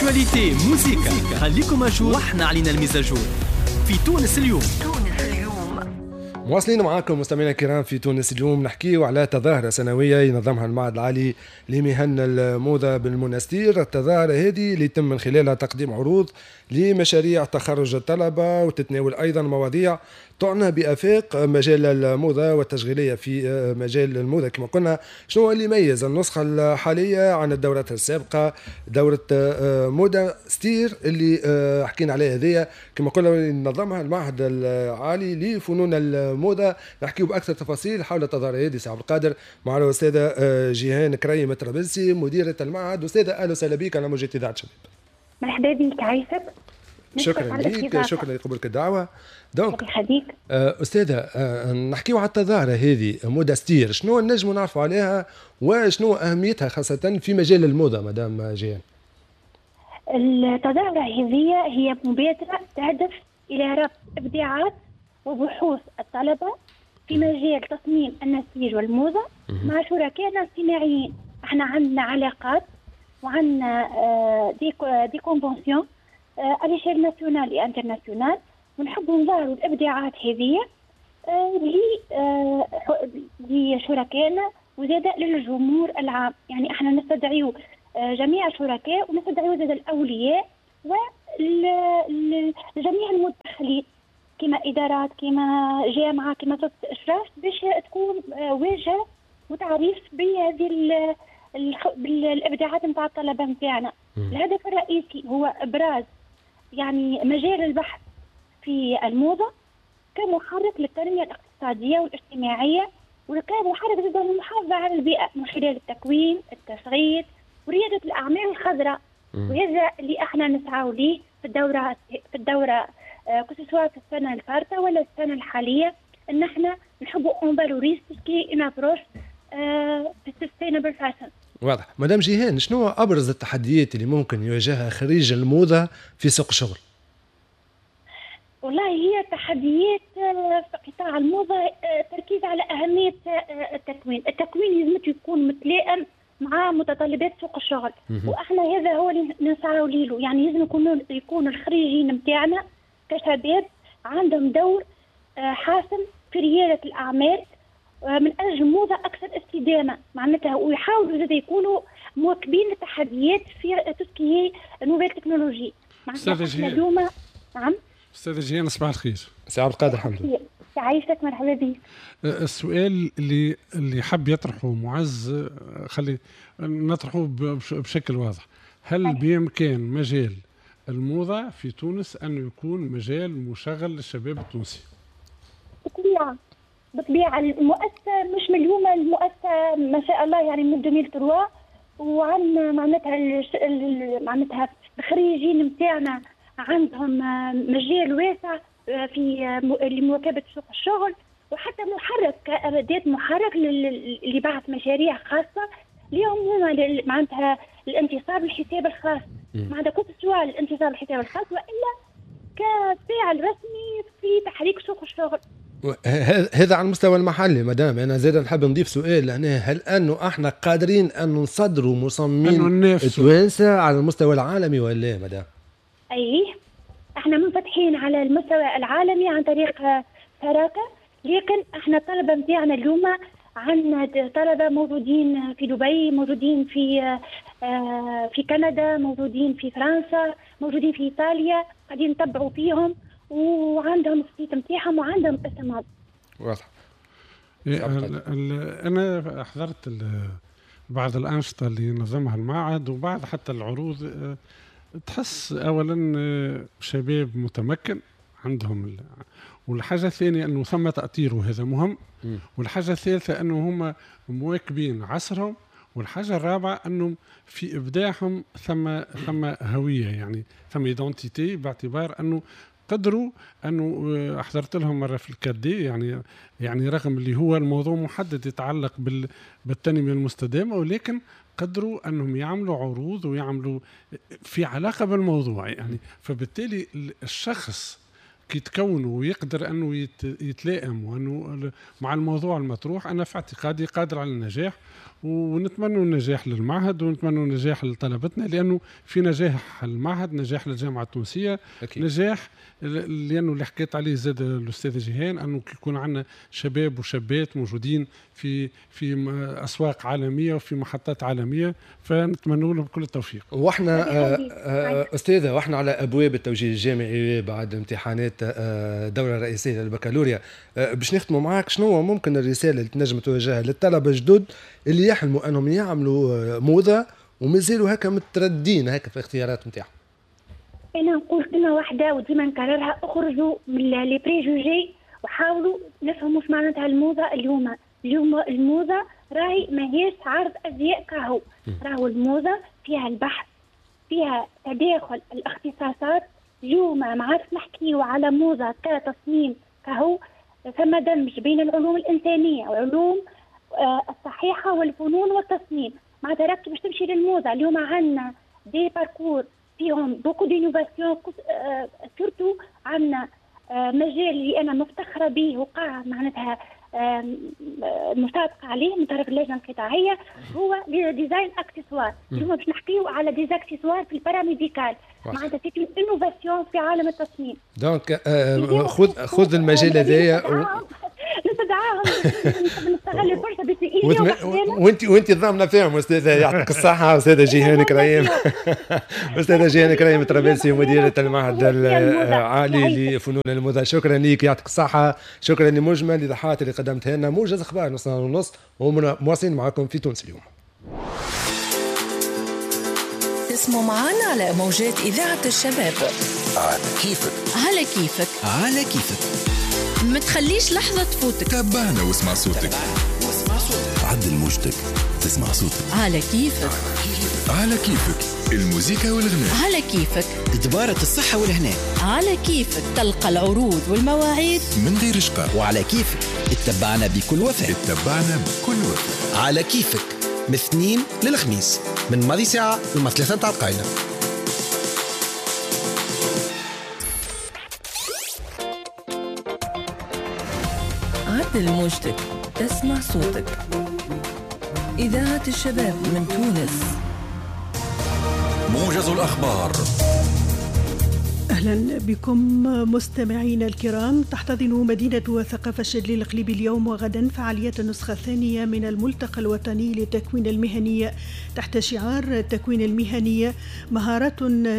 actualité، موزيكا، خليكم à jour واحنا علينا ال mise à jour في تونس اليوم. مواصلين معاكم مستمعينا الكرام في تونس اليوم، نحكيو على تظاهرة سنوية ينظمها المعهد العالي لمهن الموضة بالمنستير. التظاهرة هذه اللي يتم من خلالها تقديم عروض لمشاريع تخرج الطلبة، وتتناول أيضا مواضيع تعنى بآفاق مجال الموضة والتشغيلية في مجال الموضة. كما قلنا، شنو اللي يميز النسخة الحالية عن الدورات السابقة؟ دورة موضة ستير اللي حكينا عليها هذيا، كما قلنا نظمها المعهد العالي لفنون الموضة. نحكيو بأكثر تفاصيل حول التظاهرة هذه سي عبد القادر مع الأستاذة جيهان كريم الطرابلسي، مديرة المعهد. أستاذة، أهلا وسهلا بك على موجة إذاعة شباب. مرحبا بك، عايشك. شكرا لك، شكرا لقبولك الدعوة. donc يخليك. أستاذة، نحكيو على التظاهرة هذه مودا ستير، شنو نجموا نعرفوا عليها وشنو أهميتها خاصة في مجال الموضة مدام جيهان؟ التظاهرة هذه هي مبادرة تهدف إلى ربط إبداعات وبحوث الطلبة في مجال تصميم النسيج والموضة مع شركائنا الصناعيين. احنا عندنا علاقات وعندنا des conventions à l'échelle nationale et internationale، ونحبوا نظهروا الابداعات هذه لشركائنا وزاد للجمهور العام. يعني احنا نستدعيو جميع الشركاء ونستدعيو زاد الاولياء وجميع المتدخلين، كما ادارات، كما جامعه، كما سلطة اشراف، باش تكون واجهه وتعريف بهذه بالابداعات نتاع الطلبة نتاعنا. الهدف الرئيسي هو ابراز يعني مجال البحث في الموضة كمحرك للتنمية الاقتصادية والاجتماعيه، وكمحرك زاد للمحافظة على البيئة من خلال التكوين، التشغيل، ورياده الاعمال الخضراء. وهذا اللي احنا نسعى ليه في الدوره، que ce soit في السنة الفارطه ولا السنة الحاليه، ان احنا نحبوا on valorise tout ce qui est une approche في sustainable fashion. واضح. مدام جيهان، شنو ابرز التحديات اللي ممكن يواجهها خريج الموضة في سوق الشغل؟ والله هي تحديات في قطاع الموضة التركيز على أهمية التكوين. التكوين لازم يكون متلائم مع متطلبات سوق الشغل، واحنا هذا هو اللي نسعى له. يعني لازم يكون الخريجين نتاعنا كشباب عندهم دور حاسم في ريادة الأعمال من أجل موضة أكثر استدامة معناتها، ويحاولوا زاد يكونوا مواكبين التحديات في tout ce qui est nouvelles technologies. معناتها اليوم، نعم. استاذ جيهان، صباح الخير. سي عبد القادر، الحمد لله. يعيشك، مرحبا بك. السؤال اللي حب يطرحه معز، خلي نطرحه بشكل واضح: هل بإمكان مجال الموضة في تونس أن يكون مجال مشغل للشباب التونسي؟ بالطبيعة، بالطبيعة. المؤسسة مش من اليوم، المؤسسة ما شاء الله يعني من 2003، وعندنا معناتها الخريجين نتاعنا عندهم مجال واسع في لمواكبة سوق الشغل، وحتى محرك، كأداة محرك لبعث مشاريع خاصة اليوم هما، معناتها الانتصاب للحساب الخاص، معناتها que ce soit الانتصاب للحساب الخاص والا كفاعل رسمي في تحريك سوق الشغل. هذا على المستوى المحلي مدام. انا زاد نحب نضيف سؤال لهنا: هل انه احنا قادرين ان نصدروا مصممين توانسة على المستوى العالمي ولا مدام؟ اي، احنا منفتحين على المستوى العالمي عن طريق شراكه، لكن احنا الطلبة نتاعنا اليوم، عندنا طلبه موجودين في دبي، موجودين في كندا، موجودين في فرنسا، موجودين في ايطاليا، قاعدين نتبعوا فيهم وعندهم ال site نتاعهم وعندهم اسمهم. واضح. إيه، انا حضرت بعض الانشطة اللي نظمها المعهد وبعض حتى العروض. تحس اولا شباب متمكن عندهم، والحاجة الثانية انه ثم تاطير وهذا مهم، والحاجة الثالثة انه هم مواكبين عصرهم، والحاجة الرابعة انه في ابداعهم ثم هويه، يعني ثم identité، باعتبار انه قدروا انه حضرت لهم مرة في ال 4D، يعني رغم اللي هو الموضوع محدد يتعلق بالتنميه المستدامه، ولكن قدروا انهم يعملوا عروض ويعملوا في علاقة بالموضوع. يعني فبالتالي الشخص كي تكونوا ويقدر انه يتلائم وانه مع الموضوع المطروح، انا في اعتقادي قادر على النجاح، ونتمنى النجاح للمعهد ونتمنى النجاح لطلبتنا، لانه في نجاح المعهد نجاح للجامعة التونسية. أكيد. نجاح لانه اللي حكيت عليه زاد الاستاذ جيهان، انه كي يكون عندنا شباب وشابات موجودين في اسواق عالمية وفي محطات عالمية، فنتمنى لهم كل التوفيق. واحنا استاذه، واحنا على ابواب التوجيه الجامعي بعد امتحانات الدورة الرئيسية للبكالوريا، باش نختموا معاك، شنو ممكن الرسالة اللي تنجم توجهها للطلبة الجدد اللي يحلموا انهم يعملوا موضة ومازالوا هكا متردين هكا في الاختيارات نتاعهم؟ انا نقول كلمة واحدة وديما نكررها، اخرجوا من les préjugés وحاولوا نفهموا اش معناتها الموضة. اليوم الموضة راهي ماهيش عرض ازياء كهو، راهو الموضة فيها البحث، فيها تداخل الاختصاصات. اليوم ما عادش نحكيو على موضة كتصميم كهو، ثم دمج بين العلوم الانسانية وعلوم الصحيحة والفنون والتصميم. معناتها راك باش تمشي للموضه اليوم عندنا des parcours فيهم beaucoup d'innovations، surtout عندنا مجال اللي انا مفتخره به وقع معناتها مصادقه عليه من طرف اللجنة القطاعيه، هو design accessoires. اليوم باش نحكيو على des accessoires في ال paramédical، معناتها c'est une innovation في عالم التصميم. donc خذ المجال هذايا نستدعاهم، نستغل الفرصة باش وانت ضامنه فيهم استاذه، يعطيك الصحة استاذه جيهان كريم. استاذه جيهان كريم ترابلسي، مديره المعهد العالي لفنون الموضة، شكرا لك، يعطيك الصحة، شكرا لمجمل الايضاحات اللي قدمتها لنا. موجز اخبار 9:30 ومواصلين معكم في تونس اليوم. تسمعوا معنا على موجات اذاعة الشباب. على كيفك، على كيفك، على كيفك، ما تخليش لحظة تفوتك، تابعنا واسمع صوتك، عدل موجتك تسمع صوتك. على كيفك، على كيفك، الموسيقى والغناء، على كيفك، دبارة الصحة والهناء، على كيفك، تلقى العروض والمواعيد من غير شقاء، وعلى كيفك اتبعنا بكل وفاء، اتبعنا بكل وفاء. على كيفك من الاثنين للخميس من ماضي ساعة لما 3 تاع القايلة. عدل موجتك تسمع صوتك. إذاعة الشباب من تونس. موجز الأخبار. أهلا بكم مستمعينا الكرام. تحتضن مدينة الثقافة الشاذلي القليبي اليوم وغدا فعاليات النسخة الثانية من الملتقى الوطني للتكوين المهني تحت شعار التكوين المهني مهارات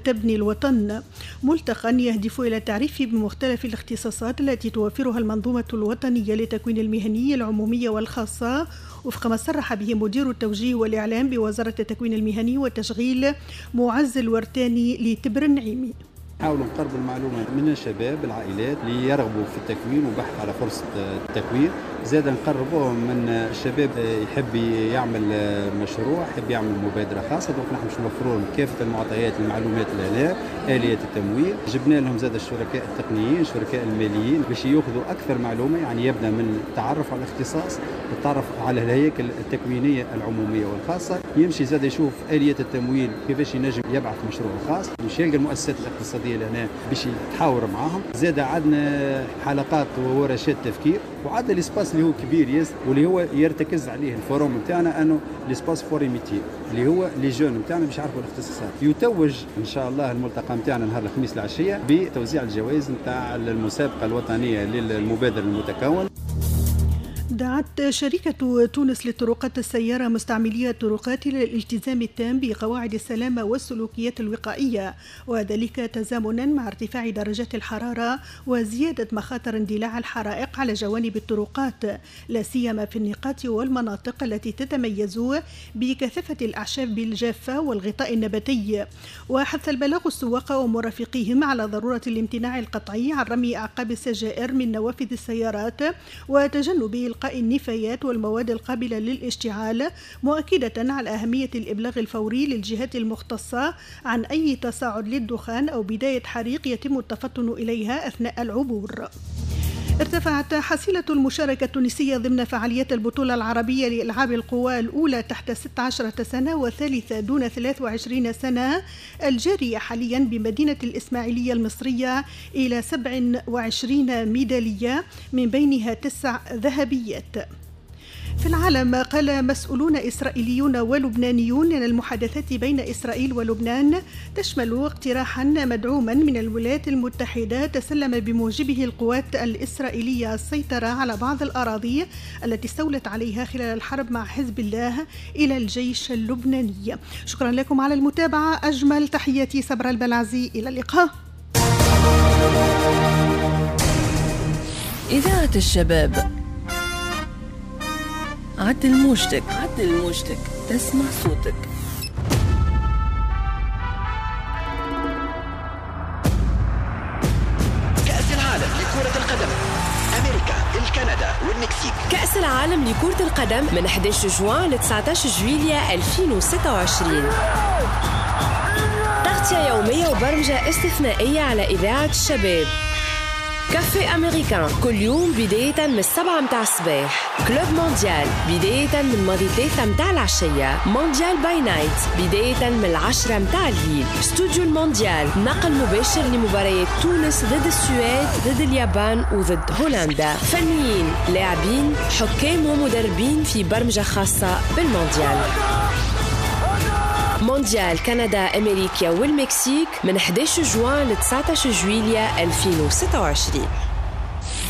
تبني الوطن. ملتقى يهدف إلى التعريف بمختلف الاختصاصات التي توفرها المنظومة الوطنية للتكوين المهني العمومية والخاصة، وفق ما صرح به مدير التوجيه والإعلام بوزارة التكوين المهني والتشغيل معز الورتاني لتبر النعيمي. نحاولوا نقربوا المعلومة من الشباب العائلات اللي يرغبوا في التكوين وبحث على فرصة التكوين، زاد نقربوهم من الشباب يحب يعمل مشروع، يحب يعمل مبادرة خاصة، donc نحن باش نوفروا لهم كافة المعطيات المعلومات لهنا، آليات التمويل، جبنا لهم زاد الشركاء التقنيين، الشركاء الماليين باش ياخذوا أكثر معلومة، يعني يبدأ من التعرف على الاختصاص، التعرف على الهياكل التكوينية العمومية والخاصة، يمشي زاد يشوف آليات التمويل كيفاش ينجم يبعث مشروع خاص، باش يلقى المؤسسات الاقتصادية لهنا باش يتحاور معاهم. زاد عندنا حلقات وورشات تفكير، وعندنا l'espace اللي هو كبير ياسر واللي هو يرتكز عليه ال forum نتاعنا، انه l'espace foire métiers اللي هو les jeunes نتاعنا باش يعرفوا الاختصاصات. يتوج ان شاء الله الملتقى نتاعنا نهار الخميس العشية بتوزيع الجوائز نتاع المسابقة الوطنية للمبادر المتكون. دعت شركة تونس للطرقات السيارة مستعملي الطرقات إلى الالتزام التام بقواعد السلامة والسلوكيات الوقائية، وذلك تزامنا مع ارتفاع درجات الحرارة وزيادة مخاطر اندلاع الحرائق على جوانب الطرقات، لا سيما في النقاط والمناطق التي تتميز بكثافة الأعشاب الجافة والغطاء النباتي. وحث البلاغ السواق ومرافقيهم على ضرورة الامتناع القطعي عن رمي أعقاب السجائر من نوافذ السيارات وتجنب إلقاء النفايات والمواد القابلة للاشتعال، مؤكدة على أهمية الإبلاغ الفوري للجهات المختصة عن أي تصاعد للدخان أو بداية حريق يتم التفطن إليها أثناء العبور. ارتفعت حصيلة المشاركة التونسية ضمن فعاليات البطولة العربية لألعاب القوى الأولى تحت 16 سنة والثالثة دون 23 سنة الجارية حاليا بمدينة الإسماعيلية المصرية إلى 27 ميدالية من بينها 9 ذهبيات. في العالم، قال مسؤولون إسرائيليون ولبنانيون أن المحادثات بين إسرائيل ولبنان تشمل اقتراحا مدعوما من الولايات المتحدة تسلم بموجبه القوات الإسرائيلية السيطرة على بعض الأراضي التي استولت عليها خلال الحرب مع حزب الله إلى الجيش اللبناني. شكرا لكم على المتابعة، أجمل تحياتي صبرا البلعزي، إلى اللقاء. إذاعة الشباب، عدل موجتك، عدل موجتك، تسمع صوتك. كأس العالم لكرة القدم، أمريكا، الكندا والمكسيك. كأس العالم لكرة القدم من 11 جوان ل 19 جويلية 2026. تغطية يومية وبرمجة استثنائية على إذاعة الشباب. Café Américain كل يوم بداية من 7 متاع الصباح. Club Mondial بداية من ماضي 3 متاع العشية. Mondial by night بداية من 10 متاع الليل. استوديو المونديال نقل مباشر لمباريات تونس ضد السويد، ضد اليابان وضد هولندا. فنيين، لاعبين، حكام ومدربين في برمجة خاصة بالمونديال. مونديال كندا، أمريكا والمكسيك من 11 جوان ل 19 جويلية 2026.